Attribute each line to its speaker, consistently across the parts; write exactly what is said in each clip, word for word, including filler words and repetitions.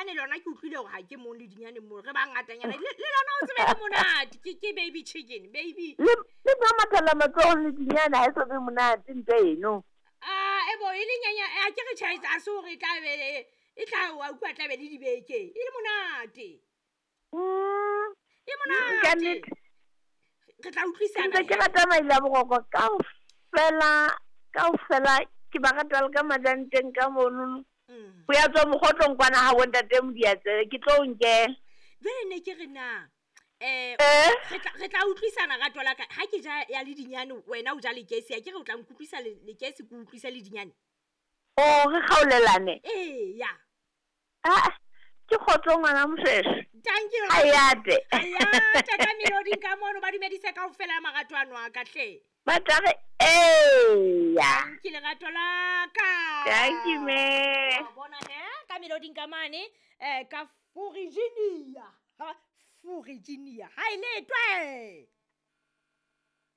Speaker 1: Ledinyane lona ke utlwile hore ha ke mong ledinyane mo re ba ngatanyana. Le le lona o tsebe le monate. Ke ke baby chicken, baby.
Speaker 2: Le le ba mathela matsohong ledinyane ha e so be monate ntho eno.
Speaker 1: Ah, e bo e le nyanya a ke re tjhe a se hore e tla be e tla wa utlwa tla be le dibeke. E le monate.
Speaker 2: Mm.
Speaker 1: E
Speaker 2: Ka
Speaker 1: monate.
Speaker 2: nnete.
Speaker 1: Re tla utlwisana.
Speaker 2: Ntse ke rata maile a boroko kaofela, kaofela ke ba rata le ka majanteng ka monono.
Speaker 1: Mm.
Speaker 2: Ho ya tswa mokgotlong kwana ha bo ntate Modiatsebe, ke tlo o nkela.
Speaker 1: Jwale ne ke re na eh
Speaker 2: Eh?
Speaker 1: re tla re tla utlwisana rato la ka. Ha ke ja ya ledinyane wena o ja lekesi, a ke re o tla nkutlwisa le lekesi ke utlwisa ledinyane.
Speaker 2: O re kgaolelane.
Speaker 1: Ee ya.
Speaker 2: Ah, ke kgotso ngwana Moshoeshoe.
Speaker 1: Thank you.
Speaker 2: Hayate.
Speaker 1: Hayate ka meloding ka mono ba dumedise kaofela marato ano a ka hle.
Speaker 2: Ba tla re eya.
Speaker 1: Ke lerato la ka.
Speaker 2: Thank you, me.
Speaker 1: Wa bona he ka meloding ka mane eh ka Virginia. Ha Virginia. Ha ile twe.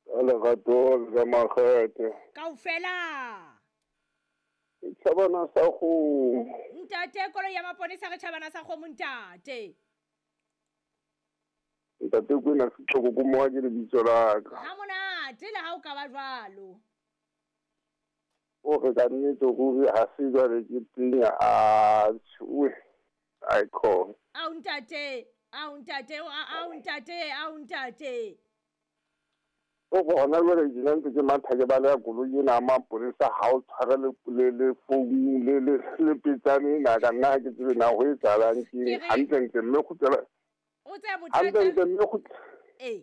Speaker 3: Ka lerato le ka makgethe.
Speaker 1: Kaofela.
Speaker 3: Tjhabana sa kgomo.
Speaker 1: Ntate koloi ya maponesa re tjhabana sa kgomo ntate.
Speaker 3: Ntate Kwena Setlhoko ko mowa ke lebitso la ka.
Speaker 1: Ha monate le ha o ka ba jwalo.
Speaker 3: O re ka nnete ruri ha se jwale ke tenya a tjhe. Ai khona.
Speaker 1: Ao ntate, ao ntate, ao ntate, ao ntate.
Speaker 3: O bona jwale ke ntse ke matha ke baleha koloi ena ya maponesa ha o tshware le le le founu le le le petsane ena ka nna ha ke tsebe na ho etsahalang ke
Speaker 1: Ke re-
Speaker 3: hantlentle mme kgutlela
Speaker 1: O tseba bothata.
Speaker 3: hantlentle mme kgutlela
Speaker 1: Eh.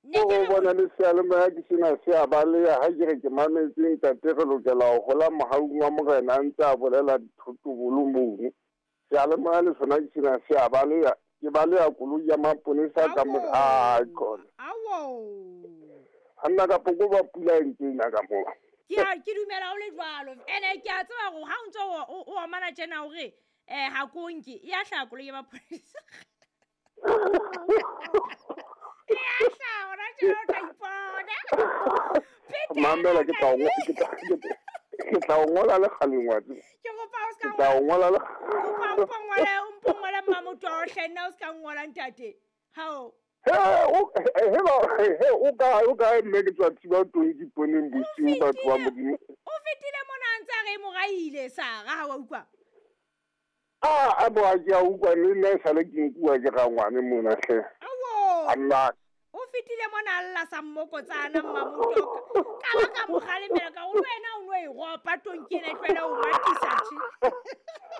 Speaker 1: Ne
Speaker 3: O
Speaker 1: ke re
Speaker 3: bona le seyalemoya ke sena se a baleha ha ke re ke mametse ntate re lokela ho hola mohaung wa morena a ntse a bolela dithotobolo mono. Seyalemoya le sona ke sena se a baleha ke baleha koloi ya maponesa ka mo ai khona.
Speaker 1: Awo.
Speaker 3: Ha nna ka poko ba pula e ntse ena ka moo.
Speaker 1: Ke a ke dumela o le jwalo. Ene ke a tseba hore ha o ntso o o omana tjena hore eh ha ko nke e a hlaha koloi ya maponesa. E a hlaha hona tjena o tla ipona. Phetela
Speaker 3: Mamela ke tla o ngo- ke tla ke tla o ngola le kgaleng wa tseba.
Speaker 1: Ke kopa o ska
Speaker 3: Ke tla o ngola le
Speaker 1: kopa o mpo ngole o mpo ngole mmamotho hle nna o ska ngola ntate. Hao.
Speaker 3: He o he ba he o kae o kae mme ke tswa thiba tonki poneng bosiu batho ba Modimo.
Speaker 1: O fetile mona a ntse a re e moraile Sara ha wa utlwa.
Speaker 3: Ah, a bo a ke a utlwa le nna e sale ke nkuwa ke rangwane mona hle.
Speaker 1: Awo.
Speaker 3: A nna
Speaker 1: O fetile mona a lla sa mmokotsana mmamotho ka ba ka mo kgalemela ka gore wena o no e ropa tonki ena e tlohele ho matisa tje.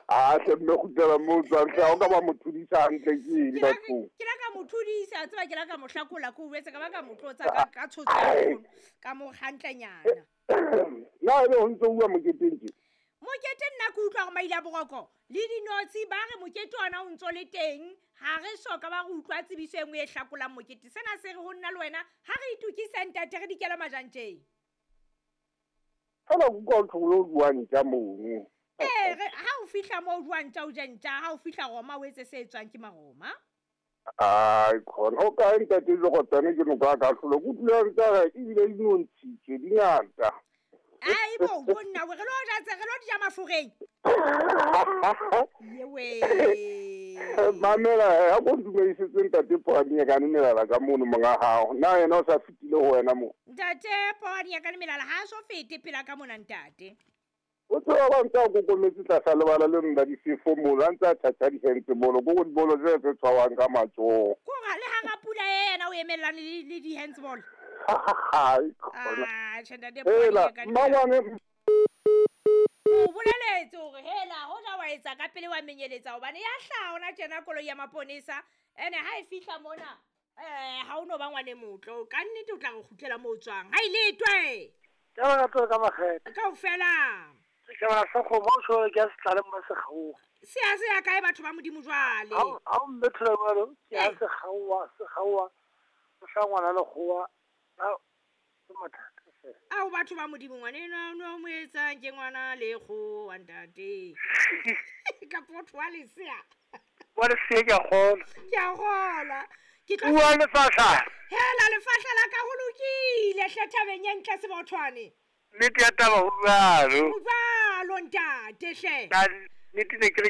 Speaker 3: Ah, hle mme kgutlela moo o tswang hle, ha o ka ba mo thudisa hantle ke eng
Speaker 1: Ke la
Speaker 3: bathong?
Speaker 1: ke la ka mo thudisa, tseba ke la ka mo hlakola ke o jwetse ka ba ka mo tlotsa ka ka tshotsa nkgono, ka mo hantlenyana.
Speaker 3: Na ebe ho ntso uwa moketeng tje?
Speaker 1: Mokete nna ke utlwa hore maile a boroko le dinotshi ba re mokete ona o ntso le teng, ha re soka ba re utlwa tsebiso e nngwe e hlakolang mokete. Sena se re ho nna le wena ha re itokise ntate re dikela majantjeng.
Speaker 3: Fela ke utlwa ho thwe o rua ntja mono.
Speaker 1: Ee, re ha o fihla moo o rua ntja o je ntja, ha o fihla Roma o etse se etswang ke Maroma.
Speaker 3: Ai khona, o kae ntate Lekgotane ke noka ka hlolo, ke utlwile a ntse a re ebile di nontshitswe di ngata.
Speaker 1: Ai bo, bonna we re lo ja tse re lo di ja mafureng. Yewe.
Speaker 3: Mamela he, ha ko ntumedisetse ntate Poane ka melala ka mono monga hao. Na yena o sa fetile ho wena mo?
Speaker 1: Ntate Poane ka melala ha so fete pela ka mona ntate.
Speaker 3: O tseba ba ntse a kokometse tlasa lebala le nna difefo mono, a ntse a tjhatjha di-handsball, ko go dibolo tse tse tshwawang ka matsoho.
Speaker 1: Ko re le hara pula ena o emellane le, le di-handsball.
Speaker 3: Ai, khona.
Speaker 1: Ah, tjhe ntate
Speaker 3: Hela,
Speaker 1: Poane ka melala.
Speaker 3: mmangwane
Speaker 1: O boleletse hore hela hoja wa etsa ka pele wa menyeletsa hobane ya hlaha hona tjena koloi ya maponesa. Ene ha e fihla mona eh ha o no ba ngwane motlo, ka nnete o tla re kgutlela moo o tswang. Ha ile twe.
Speaker 4: Ka ba tlo ka makgethe.
Speaker 1: Kaofela.
Speaker 4: Setjhabana sa kgomo o tjho ke a se tlaleng ba sekgaowa.
Speaker 1: Se a se ya kae batho ba Modimo jwale?
Speaker 4: Ha o, ha o mmethela jwalo, ke a
Speaker 1: Eh.
Speaker 4: sekgaowa, sekgaowa, o hla ngwana lekgowa. Ha, ke mathata fela.
Speaker 1: Ao batho ba Modimo ngwana enwa o no mo etsang ke ngwana lekgowa ntate. Ka motho wa lesea.
Speaker 4: Wa lesea ke a kgolwa.
Speaker 1: Ke a kgolwa. Ke tlo
Speaker 4: Bua lefahla.
Speaker 1: Hela lefahla la ka ho lokile hle thabeng e ntle Sebothwane.
Speaker 4: Nnete ya taba ho jwalo.
Speaker 1: Ho jwalo ntate hle.
Speaker 4: Ka nnete ne ke re ke